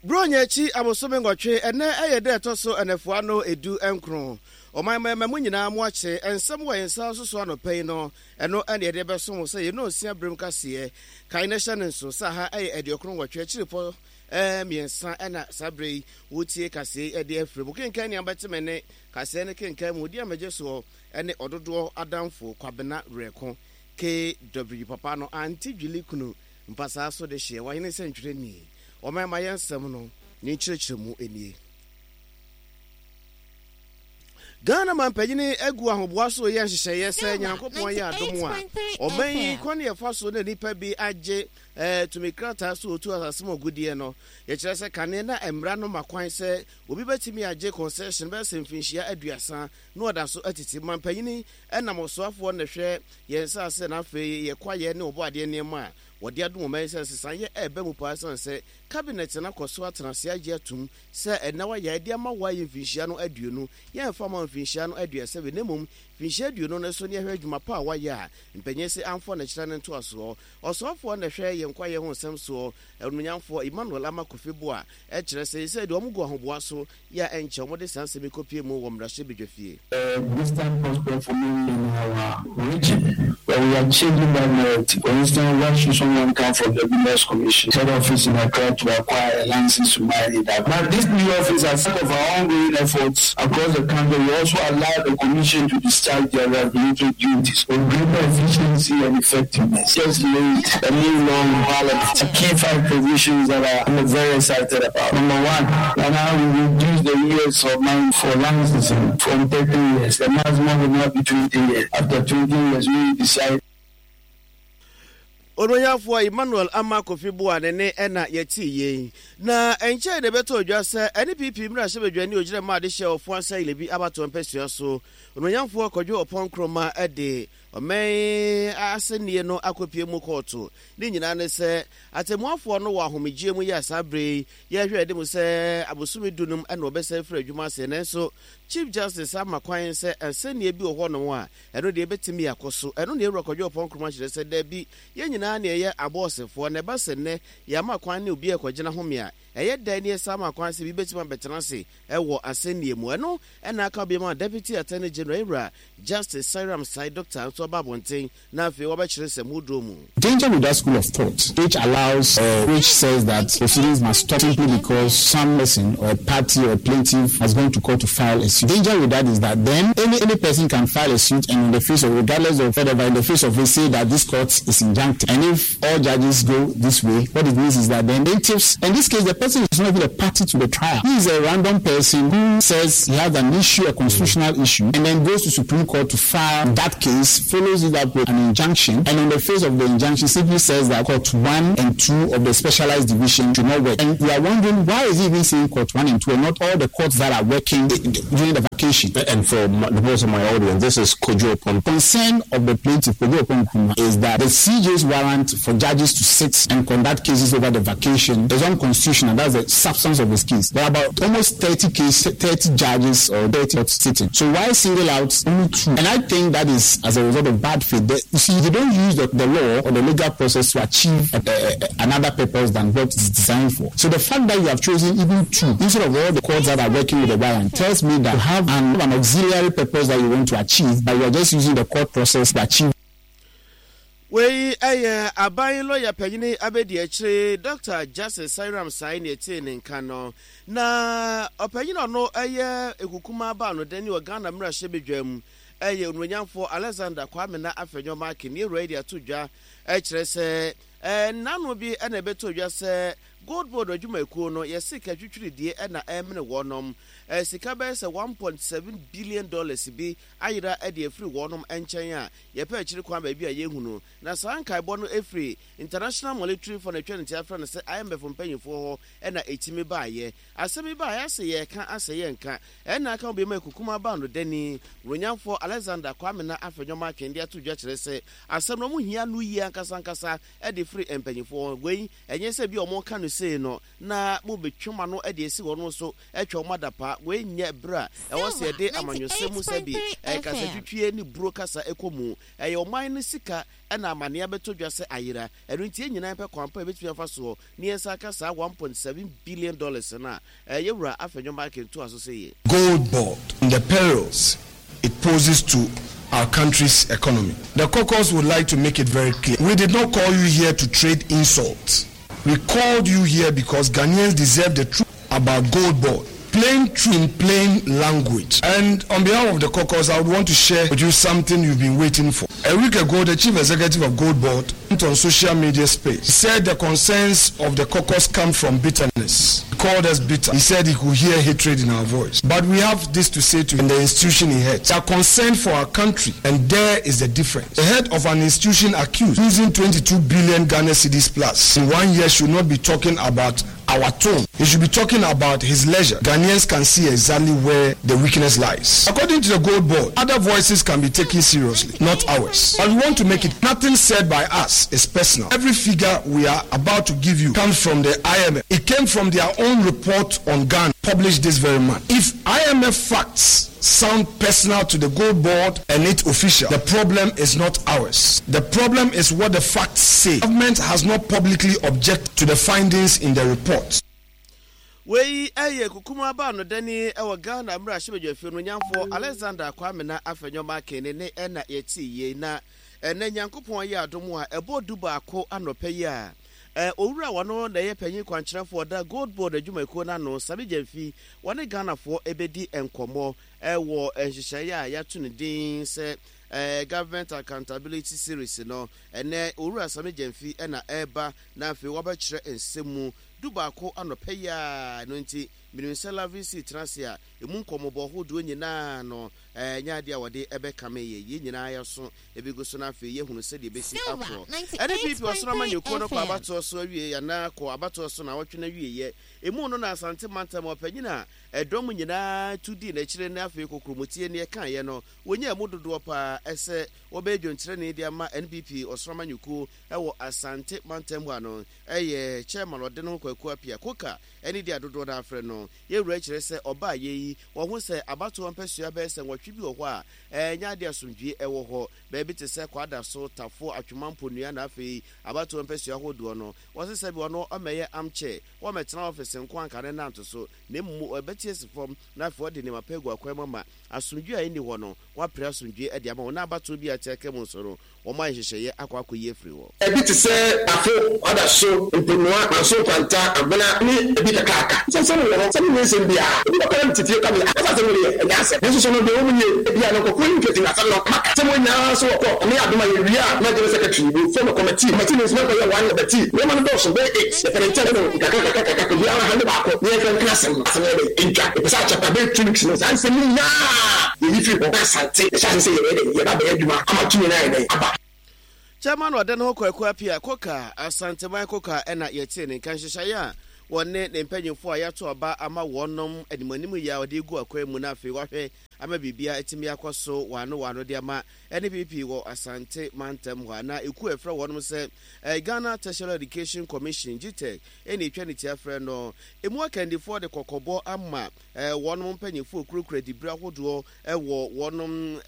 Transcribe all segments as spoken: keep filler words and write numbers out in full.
Buronya akyi abosome nwɔtwe, ɛnɛ ɛyɛ dɛ ɛtɔ so ɛnɛfoa no edu nkron. Ɔman mmarima mu nyinaa mo akye nsɛm wɔ yɛn nsa so so anɔpa yi no, ɛno ɛne yɛde bɛso mo sɛ yɛn nsia berem kaseɛ. Kan na hyɛ ne nso sɛ ha ɛyɛ aduokron nwɔtwe akyiripɔ ɛɛ mmiɛnsa ɛna saa bere yi wotie kaseɛ yi ɛde afiri mu. Kenkan nea bɛte ne kaseɛ ne kenkan mu di amagye soɔ ɛne ɔdodoɔ adamfo Kwabena Werɛko K W papa no ante dwili kunu mpasaa so de hyeɛ wahene sɛ ntwerɛni. Ɔman ma yɛn nsɛm no ne nkyerɛkyerɛ mu nie. Ghana mampanyini agu ahoboa so yɛ nhyehyɛeɛ sɛ Nyankopɔn yɛ adom a ɔman yi kwan yɛfa so na nnipa bi agye eh, tumi krataa so otu asase mu agudeɛ no. Yɛkyerɛ sɛ kane na mmara no ma kwan sɛ obi bɛtumi agye concession bɛyɛ sɛ mfinhyia aduasa na ɔda so atiti. Mampanyini ɛnam ɔsoafoɔ na hwɛ yɛn nsase na afei yɛkwaeɛ ne ɔbɔ adeɛ nneɛma a wɔde adom ɔman yi sɛ nsesaeɛ ɛɛba mu paa, ɛsiane sɛ cabinet no akɔ so atena ase agye atum sɛ ɛnna wayɛ ɛde ama wɔ ayɛ mfinhyia no aduonu, yɛmfa ma mfinhyia no aduasa bi, na mmom mfinhyia aduonu no so ne ɛhwɛ adwuma pa a wayɛ a mpanyin sɛ amfɔ ne kyerɛ ne ntoasoɔ. Ɔsoafoɔ na ɛhwɛ yɛn kwaeɛ ho nsɛm soɔ, Onumnyamfoɔ Emmanuel Armah Kofi Buah, ɛkyerɛ sɛ sɛ deɛ ɔmo gu ahoboa so yɛ a ɛnkyɛ wɔde saa nsɛm yi kɔpie mu wɔ mmarahyɛbadwa fie. Uh, distant prospect for many in our region, but we are changing that narrative. For instance, why should someone come from the Minerals Commission head office in Accra to acquire a license to mine in that? But this new office, as part of our ongoing efforts across the country, will also allow the Commission to discharge their regulatory duties with greater efficiency and effectiveness. Just laid a new law in Parliament. The key five provisions that I am very excited about. Number one, and now we reduce the years of mine for licensing from thirty years. The maximum will not be twenty years. After twenty years, we will decide. Ononyafoɔ Emmanuel Armah Kofi Buah ne ne ɛna yɛte yie na ɛnkyɛn de bɛtɔ odwa sɛ N P P mmarahyɛbadwani ogyina mu ade hyɛ Ofoase Ayirebi abatoɔ mpɛsua so, Ononyafoɔ Kojo Oppong Nkrumah, ɛde ɔman asɛnnie no akɔpie mu kɔɔto. Ne nyinaa ne sɛ atemmuafoɔ no wɔ ahomegyeɛ mu yɛ saa bere yi yɛhwɛ de mu sɛ abosome dunum ɛna wɔbɛsɛ firi adwuma ase, nanso Chief Justice ama kwan sɛ asɛnnie bi wɔ hɔnom a ɛno deɛ ɛbɛtumi akɔ so. Ɛno ne Ewura Kojo Oppong Nkrumah kyerɛ sɛ daabi, yɛn nyinaa ne ɛyɛ abɔɔsefoɔ na ɛba sɛ nnɛ yɛama kwan ne obi ɛkɔgyina home a ɛyɛ dɛn ne yɛsa ama kwan sɛ bi bɛtumi abɛtena ase ɛwɔ asɛnnie mu. Ɛno ɛna aka bi ma Deputy Attorney General Ewura Justice Seyram Sai Doctor nso aba abɔnten na afei wɔbɛkyerɛ nsɛm hodoɔ mu. Danger with that school of thought, which allows, uh, which says that proceedings must stop simply because some person or party or plaintiff has gone to court to file a suit. Danger with that is that then any any person can file a suit and in the face of, regardless of whatever, in the face of it, say that this court is injunctive. And if all judges go this way, what it means is that then plaintiffs, in this case, the person is not even a party to the trial. He is a random person who says he has an issue, a constitutional issue, and then goes to Supreme Court to file that case, follows it up with an injunction, and on the face of the injunction simply says that court one and two of the specialized division should not work. And you are wondering, why is he even saying court one and two and not all the courts that are working during the vacation? And for the purpose of my audience, this is Kojo Oppong. Concern of the plaintiff, Kojo Oppong Nkrumah, is that the C J's warrant for judges to sit and conduct cases over the vacation is unconstitutional. That's the substance of this case. There are about almost thirty cases, thirty judges or thirty courts sitting. So why single out only two? And I think that is as a result of bad faith. The, you see, they don't use the, the law or the legal process to achieve a, a, a, another purpose than what it's designed for. So the fact that you have chosen even two instead of all the courts that are working with the warrant tells me that you have an, an auxiliary purpose that you want to achieve, but you are just using the court process to achieve. Wei ɛyɛ aban lɔya panyini abɛdi akyire Doctor Justice Seyram Sai ne ɛtee ne nka no. Na ɔpanyin ɔno ɛyɛ ekukuma baano dani wɔ Ghana mmarahyɛbadwa mu, ɛyɛ Onumonyamfoɔ Alexander Kwamena Afenyo Markin ne ewura yi de ato dwa ɛkyerɛ sɛ ɛɛ nnano bi ɛna ɛbɛtɔ dwa sɛ Gold Board adwumakuo no yɛse ka twitwiridie ɛna ɛmene wɔnom ɛɛ sika bɛyɛ sɛ one point seven billion dollars bi ayera ɛde afiri wɔnom nkyɛn a yɛpɛ akyiri kwan baabi a yɛhunu. Na saa nkaebɔ no ɛfiri International Monetary Fund, atwa ne ti afrɛ no sɛ I M F mpanyinfoɔ hɔ ɛna ɛtumi baayɛ. Asɛm yi baayɛ asɛ yɛka asɛ yɛnka ɛna aka bi ma ekukuma ba no dani Ronyamfoɔ Alexander Kwamena Afenyo Markin de ato dwa kyerɛ sɛ asɛm no ɔmo hia no yie ankasa ankasa ɛde firi mpanyinfoɔ hɔ. Wei ɛnyɛ sɛ bi a ɔmo ka no. sei no na mobɛtwe ma no de asi wɔn so atwa wɔn adapa. Wei nyɛ berɛ a ɛwɔ sɛ yɛde amanyɔsɛm mu sɛ bi kasatwitwie ne buro kasa ɛkɔ mu. Ɛyɛ ɔman no sika ɛna amanneɛ bɛtɔ dwa sɛ ayera. Ɛno nti yɛn nyinaa pɛ kwan pa a yɛbɛtumi afa soɔ ne yɛn nsa aka saa one point seven billion dollars no a ɛyɛ wura Afenyo Markin toa so sɛ yie. Gold Board and the perils it poses to our country's economy. The caucus would like to make it very clear. We did not call you here to trade insults. We called you here because Ghanaians deserve the truth about Gold Board. Plain truth in plain language. And on behalf of the caucus, I would want to share with you something you've been waiting for. A week ago, the chief executive of Gold Board went on social media space. He said the concerns of the caucus come from bitterness. He called us bitter. He said he could hear hatred in our voice. But we have this to say to him, the institution he heads. We are concerned for our country, and there is the difference. The head of an institution accused losing twenty-two billion Ghana cedis plus in one year should not be talking about our tone. He should be talking about his leisure. Ghanaians can see exactly where the weakness lies. According to the Gold Board, other voices can be taken seriously, not ours. But we want to make it nothing said by us is personal. Every figure we are about to give you comes from the I M F. It came from their own report on Ghana, published this very month. If I M F facts sound personal to the Gold Board and its official, the problem is not ours. The problem is what the facts say. Government has not publicly objected to the findings in the report. Wei eye kukuma ba no dani ewo Ghana mra hyebedwafie no nyamfo Alexander Kwame na Afenyo Markin ne ena yeti ye na ene Nyankopɔn ye adom a ebo du baako anɔpɛ yi a owura wono na ye panyin kwankyerɛfo da Gold Board adwumakuo na no Sammy Gyamfi wone Ghanafoɔ ebedi enkomo ewo nhyehyɛe a yɛato ne din sɛ government accountability series no ene owura Sammy Gyamfi ena eba na afei wabɛkyerɛ nsɛm du baako anɔpɛ yi a no nti minimsɛ lavisi trasia emu nkɔmɔbɔ hodoɔ nyinaa no nya ade a wɔde ɛbɛkame yɛ yɛ nyinaa yɛso ebigu so na afei yɛhunu sɛdeɛ bɛsi akorɔ ɛne P P ɔsoro ama nyɛkuo no kɔ abatoɔ so awie anaa kɔ abatoɔ so na wɔtwe no awie emu no na Asante mantam ɔpanyin a ɛdɔm nyinaa tu di n'akyire ne afei kokurumutie ne ɛkaeɛ no wɔnya mu dodoɔ paa ɛsɛ wɔbɛyɛ dwonkyerɛni de ama N P P ɔsoro ama nyɛkuo ɛwɔ Asante mantam hɔ ano ɛyɛ chairman ɔde no Kwaku Apia Koka ɛne de adodoɔ no afrɛ no yɛwura kyerɛ sɛ ɔbaa yɛ yi wɔn ho sɛ abatoɔ mpɛsua bɛyɛ sɛ nwɔtwe bi wɔ hɔ a ɛnyɛ ade asomdwie ɛwɔ hɔ baabi te sɛ Kwadaso Tafo Atwoma Mponua na afei abatoɔ mpɛsua ahodoɔ no wɔse sɛ bi wɔn ɔmɛyɛ amkyɛ wɔmɛtena ɔfisi nko anka ne nanto so na emu ɛbɛte asi fam na afei ɔde nneɛma pɛ gu akwan mu ama asomdwie a ɛnni hɔ no wɔapere asomdwie ɛde ama wɔn na abatoɔ bi a ɛte aka mu nso no wɔn ayɛ nhyehyɛeɛ akɔ akɔyi afiri hɔ. Ebi te sɛ Tafo, Kwadaso, Mponua, Manso Nkwanta, Abena ne ebi kakaaka. Sɛ nsɛm wɔ hɔ, sɛ ne nsɛm biara, ebi bɛkɔ na tete ka me, asa asɛm no yɛ, ɛnyɛ asɛm. Nanso so no deɛ wɔn yie, ebi a no nkɔkɔ yi nketi na asɛm no, maka. Sɛ wɔn nyinaa nso wɔ kɔ, ɔmo yɛ adoma yɛ wie a, na general secretary, we form a committee, committee no nso bɛkɔ yɛ one committee, nneɛma no dɔɔso bɛyɛ eight, yɛpɛ ne nkyɛn no, nkakra kakra kakra, obiara ha ne baako, ne yɛmfa nka asɛm no, asɛm no yɛ dɛ, ntwa, yɛpɛ sɛ akyɛpa bɛyɛ two weeks no, saa nsɛm no nyinaa, yɛyi firi hɔ, na Asante, yɛhyɛ ase sɛ yɛbɛyɛ dɛ, yɛba bɛyɛ adwuma, ama tumi no ayɛ dɛ, aba. Chairman ɔde ne ho Kwaku Apia Koka Asanteman Koka ɛna yɛte ne nka nhyehyɛeɛ a wɔne ne mpanyimfoɔ a yɛato aba ama wɔnom animanim yi a ɔde gu akwan mu na afei wahwɛ ama biribia atumi akɔ so wano wano de ama N P P wɔ Asante mantam hɔ a na ekuo a ɛfrɛ wɔnom sɛ Ghana Tertiary Education Commission G T E C ɛna etwa ne tia frɛ no emu akandifoɔ de kɔkɔbɔ ama wɔnom mpanyimfoɔ kurakura dibere ahodoɔ ɛwɔ wɔnom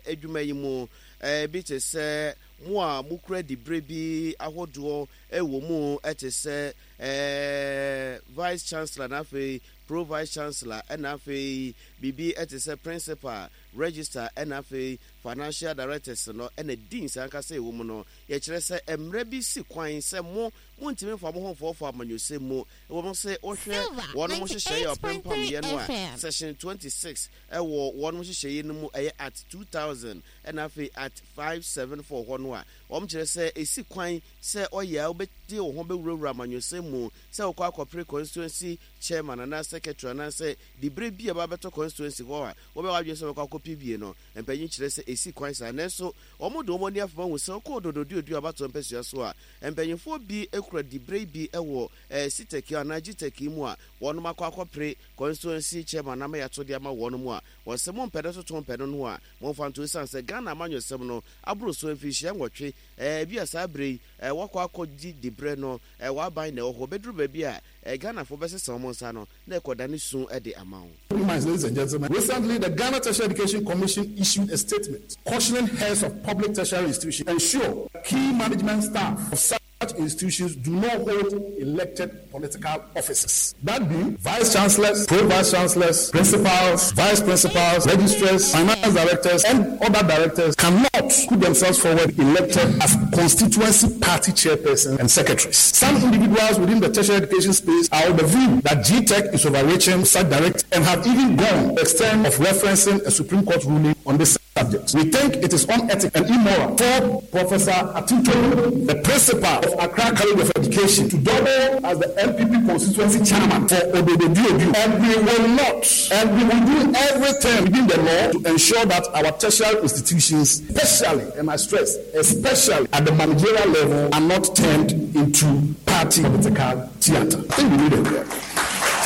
adwuma yi mu bi te sɛ mo a mokura dibere bi ahodoɔ ɛwɔ mu ɛte sɛ vice chancellor na afei pro vice chancellor ɛna afei biribi ɛte sɛ principal register ɛna afei financial directors no ɛna deans ankasa ɛwɔ mu no yɛkyerɛ sɛ mmerɛ bi si kwan sɛ mo montumi mfa mo ho mfɔɔfɔ amanyɔsɛm mu ɛwɔ mo sɛ wohwɛ wɔn mo hyehyɛeɛ a ɔpempamyɛ no a section twenty-six ɛwɔ wɔn mo hyehyɛeɛ no mu ɛyɛ at two thousand ɛna afei at five seven four hɔ no a wɔn kyerɛ sɛ esi kwan sɛ ɔyɛ a wobɛde wo ho bɛwurawura amanyɔsɛm mu sɛ wokɔ akɔpere constituency chairman anaa secretary anaasɛ dibere bi a ɛba constituency hɔ a wɔbɛwɔ adwene sɛ wɔkɔ akɔpɛ bie no mpanyin kyerɛ sɛ esi kwan saa nanso wɔn de wɔn ani afoma hu sɛ ɔkɔɔ dododuoduo abatoɔ mpɛsua so a mpanyinfoɔ bi ekura dibere bi ɛwɔ ɛɛ sitɛki anaa gtɛki mu a wɔn akɔ akɔpere constituency chairman ama yɛato de ama wɔn mu a Wɔsɛ mompɛ no toto mpɛ no no a momfa nto, ɛsiane sɛ Ghana amanyɔsɛm no aboro so mfirinhyia nwɔtwe. Ɛɛ bi a saa berɛ yi wɔakɔ akɔgye diberɛ no, wɔaban na ɛwɔ hɔ. Bɛduru baabi a Ghanafoɔ bɛsesa wɔn nsa no na ɛkɔda su de ama wo. Ladies and gentlemen, recently the Ghana Tertiary Education Commission issued a statement cautioning heads of public tertiary institutions ensure key management staff of such institutions do not hold elected political offices. That being vice chancellors, pro-vice chancellors, principals, vice principals, registrars, finance directors, and other directors cannot put themselves forward elected as constituency party chairpersons and secretaries. Some individuals within the tertiary education space are of the view that G TEC is overreaching such directors and have even gone the extent of referencing a Supreme Court ruling on this subject. We think it is unethical and immoral for Professor Atinto, the principal of Accra College of Education, to double as the N P P constituency chairman for Odododiodio. And we will not, and we will do everything within the law to ensure that our tertiary institutions, especially, and I stress, especially at the managerial level, are not turned into party political theater. I think we need it there.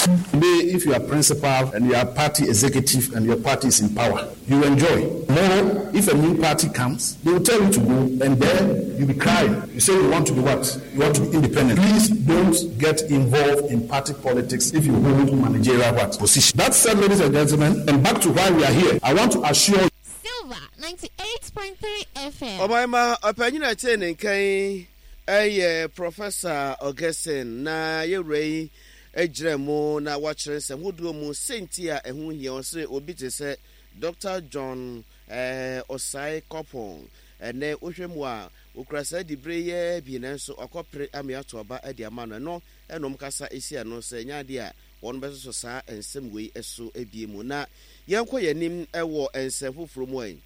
Today, if you are principal and you are party executive and your party is in power, you enjoy. Tomorrow, if a new party comes, they will tell you to go, and then you'll be crying. You say you want to be what? You want to be independent. Please don't get involved in party politics if you hold managerial what? Position. That said, ladies and gentlemen, and back to why we are here, I want to assure you. Silver ninety-eight point three F M. Obaima, opinion eh, Professor Augustine na ye ejremo na wakyerɛ nsɛm hodoɔ mu senti a ɛho hia ɔsɛ obi te sɛ Doctor John eh, Osai Kopong ɛnɛ wohwɛ mu a okura saa dibre yɛ bi nanso ɔkɔpere ameato aba de ama no ɛno ɛnom kasa esi ano sɛ nya ade a wɔn bɛsoso saa nsɛm wei ɛso ebie mu na yɛnkɔ yɛnim ɛwɔ nsɛm foforɔ mu ayi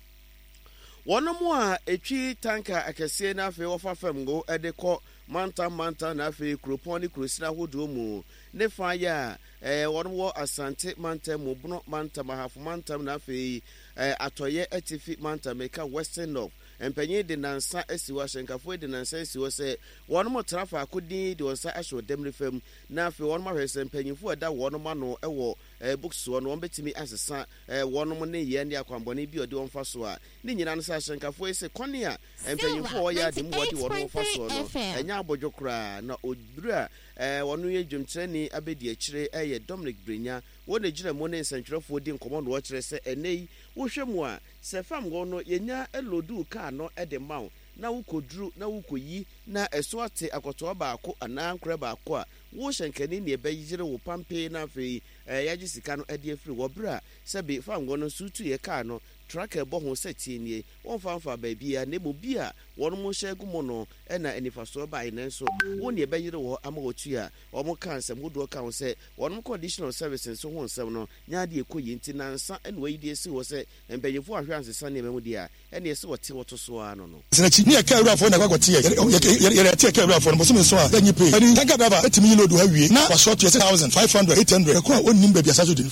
wɔn mu a etwi tanka akɛseɛ na afei wɔfa fam ngo ɛde kɔ mantam mantam na afei kuropɔn ne kurosina ahodoɔ mu ne fa yɛ a eh, wɔn wɔ Asante mantam mu, Bono mantam, Ahafo mantam na afei eh, Atɔyɛ Atifi mantam, meka Western North. Mpanyin de nansa asi hɔ, ahyɛnkafoɔ de nansa asi hɔ sɛ wɔn mo tra faako din de wɔn nsa ahyɛ ɔdɛm fam na afei wɔn ahwɛ sɛ mpanyinfoɔ ɛda wɔn ano ɛwɔ eh, books soɔ no wɔn bɛtumi asesa eh, wɔn ne yɛ ne akwanbɔne bi ɔde wɔn fa so a ne nyinaa no sɛ ahyɛnkafoɔ yi sɛ kɔne a mpanyinfoɔ ɔyɛ ade mu wɔde wɔn fa soɔ no ɛnyɛ abɔdwo koraa na oduru a eh, wɔn yɛ dwamkyerɛni abɛdi akyire ɛyɛ Dominic Brenya wɔn na gyina mu ne nsɛntwerɛfoɔ di nkɔmmɔ na wɔkyerɛ sɛ ɛnɛ yi wohwɛ mu a sɛ fam hɔ no yɛnya lodu kaa no de ma wo na wokɔduru na wokɔyi na ɛso ate akɔtoa baako anaa nkorɛ baako a wo hyɛnkani ne ɛbɛyere wo pampee na afei yɛagye sika no de afiri wɔ berɛ a sɛbe fam hɔ no nso tuyɛ kaa no traka ɛbɔ ho sɛ tie nie wɔmfa mfa baabi a na mmom bi a wɔn mo hyɛ gu mu no ɛna anifasoɔ bae nanso wo ne ɛbɛyere wɔ ama wɔtu a wɔn ka nsɛm hodoɔ ka ho sɛ wɔn condition of service nso ho nsɛm no nya adeɛ kɔ yi nti nansa ɛna wɔyi de asi hɔ sɛ mpanyinfoɔ ahwɛ ansesa nneɛma mu deɛ a ɛna ɛsɛ wɔte wɔto so ara no no. Sinachi ni ɛka awurafoɔ na ɛkɔ akɔte yɛ yɛ yɛ ɛte ɛka awurafoɔ no bosome nso a yɛnyi pay ɛni tanka driver ɛtumi yi load ha wie na wasɔ to yɛ six thousand five hundred eight hundred ɛkɔ a ɔnnim baabi asa so di.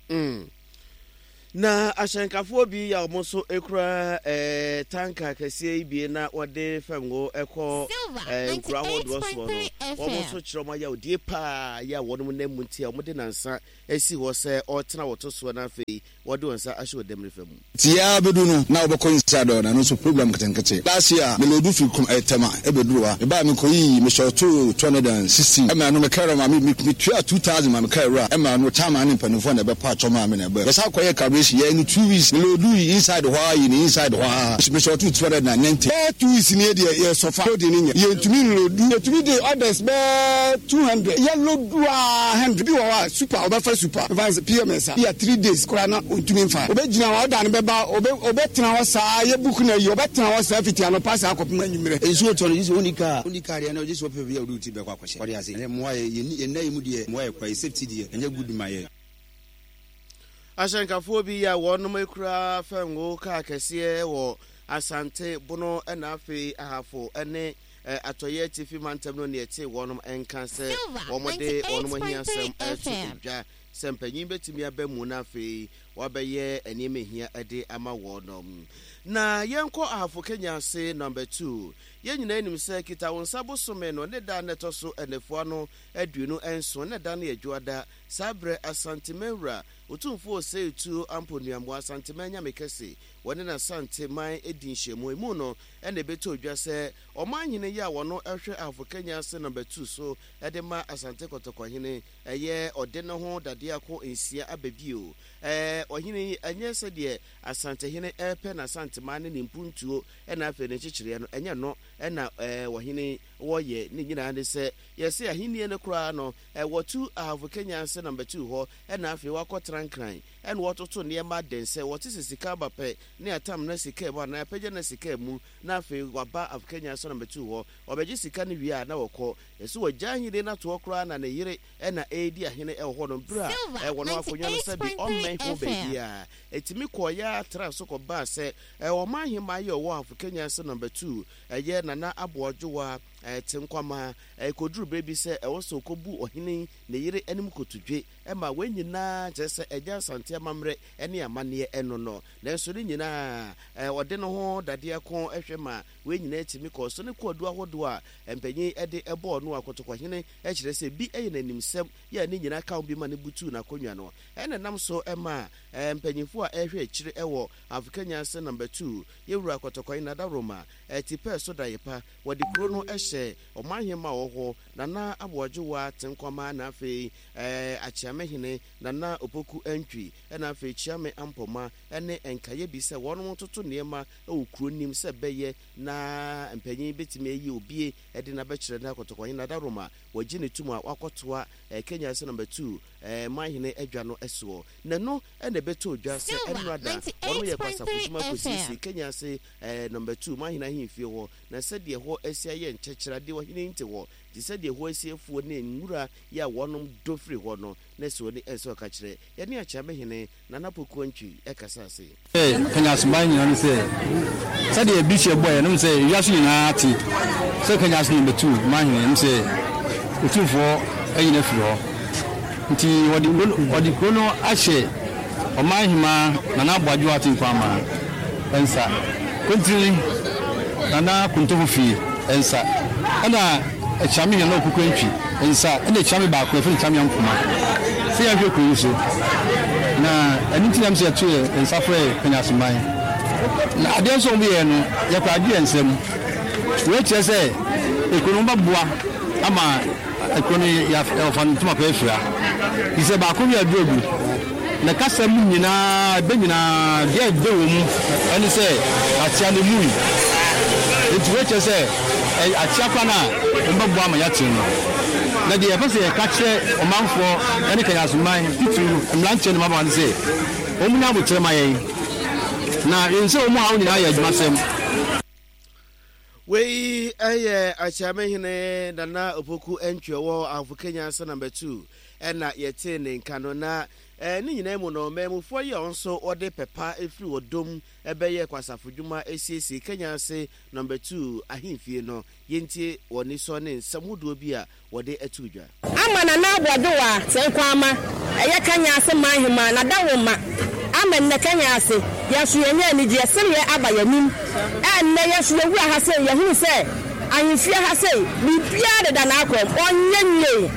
Mm. Na ahyɛnkafoɔ bi a wɔn nso kura eh, tanka kɛseɛ yi bi na wɔde fam ngo kɔ eh, nkura ahodoɔ soɔ no wɔn nso kyerɛ wɔn ayɛ odie paa yɛ a wɔn nam mu nti a wɔde nansa asi hɔ sɛ ɔtena wɔto soɔ na afei wɔde wɔn nsa ahyɛ ɔdɛm nifa mu. Tia bedu no na wobɛkɔ inside hɔ na no nso program nketenkete. Last year me load firi kum Tema ebeduru ha. Me ba me kɔyi me short two hundred and sixteen ɛma no me kɛrɛ ma me me tua two thousand ma me kɛrɛ wura ɛma no chairman ne mpanimfoɔ na ɛbɛpa atwɔ maa me na ɛbɛ. Yɛsa kɔyɛ calibration yɛ no two weeks me load yi inside hɔ a yi ne inside hɔ a me short two hundred and ninety. Bɛɛ two weeks ni deɛ yɛ sɔfa load ne nyɛ yɛntumi load yɛtumi de orders bɛɛ two hundred yɛ load a hundred bi wɔ hɔ a super ɔbɛfa super advance P M S a yɛ three days koraa na ɔntumi mfa ɔbɛgyina hɔ ɔda no bɛba ɔbɛtena hɔ saa yɛ book na yi ɔbɛtena hɔ saa fiti anɔpa saa kɔpem anwummerɛ. Nsuo tɔ no gye sɛ ɔnni kaa ɔnni kaa deɛ na ɔgye sɛ ɔpɛ bi a ɔde wo ti bɛkɔ akɔhyɛ ɔde ase ɛnɛ mmoa yɛ yɛnni yɛn nna yi mu deɛ mmoa yɛ kora yɛ safety deɛ ɛnyɛ good ma yɛ. Ahyɛnkafoɔ bi a wɔnom ekura fɛngo kaa kɛseɛ wɔ Asante Bono ɛna afei Ahafo ɛne Atɔyɛ Atifi mantam no ne ɛte wɔnom nka sɛ wɔn de wɔnom ahiasɛm ɛto dwa. sɛ mpanyin bɛtumi aba mu na afei wabɛyɛ nneɛma ehia de ama wɔn. Na yɛnkɔ Ahafo Kenyase number two. Yɛn nyinaa nim sɛ kita wo nsa bosome no ne da na ɛtɔ so ɛnɛfoa no aduonu nson ne da no yɛ dwoada. Saa berɛ Asantemanwura Otumfoɔ Osei Tuo Amponuamoa Asanteman Nyame Kɛse wɔne n'Asanteman di nhyiamu. Emu no ɛna ɛbɛtɔ dwa sɛ ɔmanhene yi a wɔno ɛhwɛ Ahafo Kenyase number two so ɛde ma Asante Kɔtɔkɔhene ɛyɛ ɔde ne ho dadeɛ nsia aba bio. Ɛɛ ɔhene yi ɛnyɛ sɛdeɛ Asantehene ɛpɛ n'Asanteman ne ne mpuntuo ɛna afei ne nkyekyereɛ no ɛnyɛ no ɛna ɛɛ ɔhene wɔyɛ ne nyinaa ne sɛ yɛsɛ ahennie no koraa no ɛwɔtu Ahafo Kenyase number two hɔ ɛna afei wakɔ Trankran ɛna wɔtoto nneɛma den sɛ wɔte sɛ sika aba pɛ ne atam na sika mu anaa apagya na sika mu na afei waba Ahafo Kenyase number two hɔ ɔbɛgye sika no wie a na wɔkɔ yɛsɛ wɔgya ahene no atoɔ koraa na ne yere ɛna ɛredi ahene ɛwɔ hɔ no berɛ a ɛwɔ no akonnwa no sɛ bi ɔmmɛn ho baabi a ɛtumi kɔɔyɛ atra so kɔbaa sɛ ɔman ahemmaa yi ɔwɔ Ahafo Kenyase number two ɛyɛ Nana Aboadwowa ɛte nkwama ɛkɔduru berɛ bi sɛ ɛwɔ sɛ ɔkɔbu ɔhene ne yere anim kotodwe ɛma wɔn nyinaa kyerɛ sɛ ɛgya Asante amammerɛ ne amanneɛ ɛno no nanso ne nyinaa ɔde ne ho dadeɛ ko ɛhwɛ ma wɔn nyinaa tumi kɔɔ so ne kɔɔdu ahodoɔ a mpanyin ɛde ɛbɔɔ no akɔtɔkɔhene ɛkyerɛ sɛ bi ɛyɛ n'animsɛm yɛ ne nyinaa ka ho bi ma ne butu n'akonnwa no ɛna nam so ɛma mpanyinfoɔ a ɛhwɛ akyire ɛwɔ Ahafo Kenyase number two yɛwura Kɔtɔkɔhene Nadaroma ɛti pɛɛ so da yɛ pa wɔde kuro no ɛhyɛ ɔmanhema wɔ hɔ Nana Aboadwowa Tenkwama na afei ɛɛ Akyeamehene Nana Opoku Antwi ɛna afei Kyiame Ampɔma ɛne nkaeɛ bi sɛ wɔn toto nneɛma ɛwɔ kuro nim sɛ bɛyɛ na mpanyin bɛtumi ayi obie ɛde n'abɛkyerɛ na Kɔtɔkɔhene Nadaroma wɔgye ne tum a wakɔtoa ɛɛ Kenyase number two ɛɛ manhene adwa no ɛsoɔ na no ɛna ɛbɛtɔ dwa sɛ ɛnora da wɔn yɛ kwasafo dwuma kɔsiesie Kenyase ɛɛ number two manhene ahemfie hɔ na sɛdeɛ hɔ asi ayɛ nkyɛkyerɛade ɔhene nte hɔ te sɛdeɛ hɔ asi afuo ne nwura yɛ a wɔnom dɔ firi hɔ no na sɛ wɔne ɛsɛ ɔka kyerɛ yɛne Akyeamehene Nana Poku Antwi ɛkasa ase. Kenyase man nyinaa no sɛ sɛdeɛ bi hyɛ bɔɛ nom sɛ wiase nyinaa te sɛ Kenyase number two manhene nom sɛ otumfoɔ anyina firi hɔ nti wɔde wɔde kuro no ahyɛ ɔman hema Nana Aboadwowa Tenkwama nsa kontiri Nana Kontofo fie nsa ɛna Akyeame Nana Opoku Antwi nsa ɛna Akyeame baako ɛfɛ Akyeame Ampoma sɛ yɛhwɛ kuro yi so na ɛno nti nam sɛ yɛto yɛ nsa frɛ Kenyase man na adeɛ nso wɔn yɛ no yɛkɔ agye yɛn nsam wei kyerɛ sɛ ekuro no bɛboa ama ekuro no yɛfa no ntoma pɛ afira yi sɛ baako bi aduro gu na kasa mu nyinaa ɛbɛ nyinaa deɛ ɛbɛ wɔ mu ɛne sɛ akyea no mu yi nti wei kyerɛ sɛ akyea kwan a wɔn bɛboa ama yɛakyerɛ no na deɛ yɛpɛ sɛ yɛka kyerɛ ɔmanfoɔ ɛne Kenyase man titiri mmeranteɛ ne mmabaawa ne sɛ wɔn nyɛ abokyerɛ ma yɛn na yɛn sɛ wɔn a wɔn nyinaa yɛ adwumasɛm. Wei ɛyɛ Akyeamehene Nana Opoku Antwi wɔ Ahafo Kenyase number two ɛna yɛte ne nka no na ɛɛ ne nyinaa mu no mmamufoɔ yi a wɔn nso wɔde pɛpa efiri wɔ dom ɛbɛyɛ kwasafo dwuma esiesie Kenyase number two ahemfie no yɛntie wɔn nisɔ ne nsɛm hodoɔ bi a wɔde ato dwa. Ama Nana Aboadwowa Tenkwama ɛyɛ Kenyase manhema na dawoma ama nnɛ Kenyase yɛnso yɛnyɛ anigyeɛ sereɛ aba yɛnim ɛnnɛ yɛnso yɛwura ha sɛ yɛhunu sɛ ahemfie ha sɛ biribiara deda n'akɔm ɔnyɛ nwie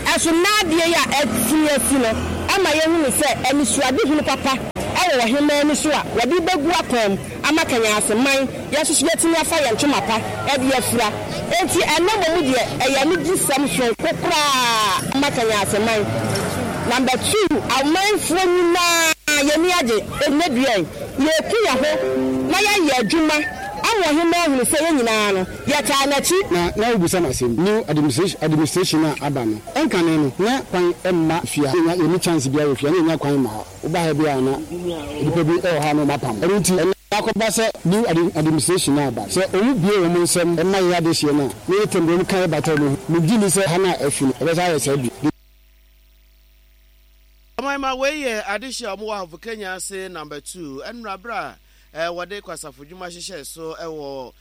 ɛso naadeɛ yi a ɛtumi asi no ama yɛhunu sɛ anisuadehunu papa ɛwɔ ɔhemmaa ani so a wɔde bɛgu akɔm ama Kenyase man yɛnso so yɛtumi afa yɛn ntoma pa ɛde afira enti ɛnɛ mmom deɛ ɛyɛ anigyesɛm sononko koraa ama Kenyase man. Number two, amanfoɔ nyinaa yɛni agye ɛnɛ dua yi yɛku yɛn ho na yɛayɛ adwuma ama ɔhemmaa ahunu sɛ yɛn nyinaa no yɛtaa n'akyi. Na na wobusa no asɛm new administration administration a aba no ɛnkane no na kwan ɛmma fia yɛnya yɛni chance biara wɔ fia na yɛnya kwan ma woba ha bi a na nipa bi ɛwɔ ha na ɔma pam ɛno nti ɛna akɔba sɛ new administration a aba sɛ ɔmu bie wɔn nsɛm ɛma yɛ adehyeɛ no a ne yɛ tɛm wɔn ka yɛ bata mu megye ni sɛ ha na afi no ɛbɛsa ayɛ saa bi. Ɔman wei yɛ adehyeɛ a wɔwɔ Ahafo Kenyase number two ɛnora berɛ a wɔde kwasafo dwuma hyehyɛ so ɛwɔ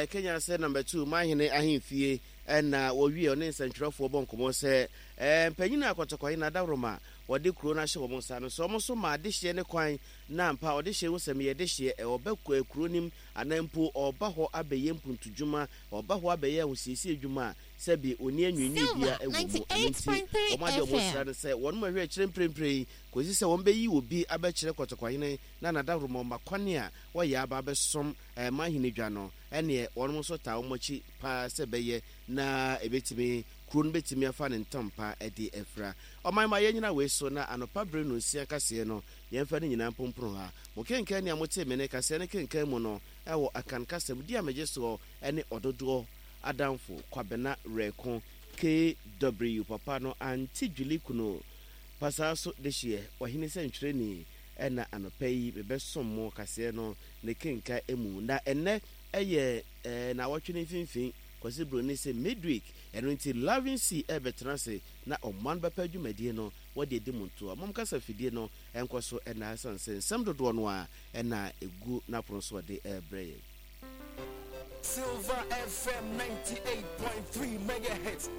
Kenyase number two manhene ahemfie Ɛna wɔwie ɔne nsɛntwerɛfoɔ bɔ nkɔmmɔ sɛ ɛɛ mpanyin a Kɔtɔkɔhene adaworoma wɔde kuro no ahyɛ wɔn nsa no sɛ wɔn nso ma adehyeɛ ne kwan na ampa ɔdehyeɛ ho sɛm yɛ dehyeɛ ɔba kuro nim anaa mpo ɔba hɔ abɛyɛ mpuntudwuma, ɔba hɔ abɛyɛ ahosiesie dwuma a sɛbi oni anwiinwii bia ɛwɔ mu. Ɛno nti wɔn adeɛ wɔn sra no sɛ wɔn mu ahwɛ akyerɛ mprempren yi kɔsi sɛ wɔn bɛyi obi abɛkyerɛ Kɔtɔkɔhene na n'adaworoma ɔma kwan a wɔyɛ aba abɛsom ɛma ahene dwa no, ɛneɛ wɔn nso taa wɔn akyi paa sɛ bɛyɛ na ebɛtumi kuro no bɛtumi afa ne ntampa de afira ɔman ma yɛnyina wei so. Na anɔpa bere no nsia kaseɛ no yɛmfa no nyinaa mpomporo ha. Mo kenkan nea mote me ne kaseɛ no kenkan mu no ɛwɔ Akan kasɛm di a megye soɔ ne ɔdodoɔ adamfo Kwabena Rɛko K W papa no ante dwili kunu pasaa so de hyeɛ ɔhene sɛ ntwerɛni. Ɛna anɔpa yi mebɛsom mo kaseɛ no ne kenka mu, na ɛnɛ ɛyɛ ɛɛ na awɔtwe ne mfimfini, Kwasi Buroni sɛ midweek. Ɛno nti Loving C ɛbɛtena ase na ɔman bɛpɛ dwumadie no wɔde adi mu ntoa mom kasa fidie no ɛnkɔ so. Ɛna ɛsiane sɛ nsɛm dodoɔ no a ɛna ɛgu n'apono so ɔde ɛrebrɛ yɛn. Silver F M ninety-eight point three megahertz.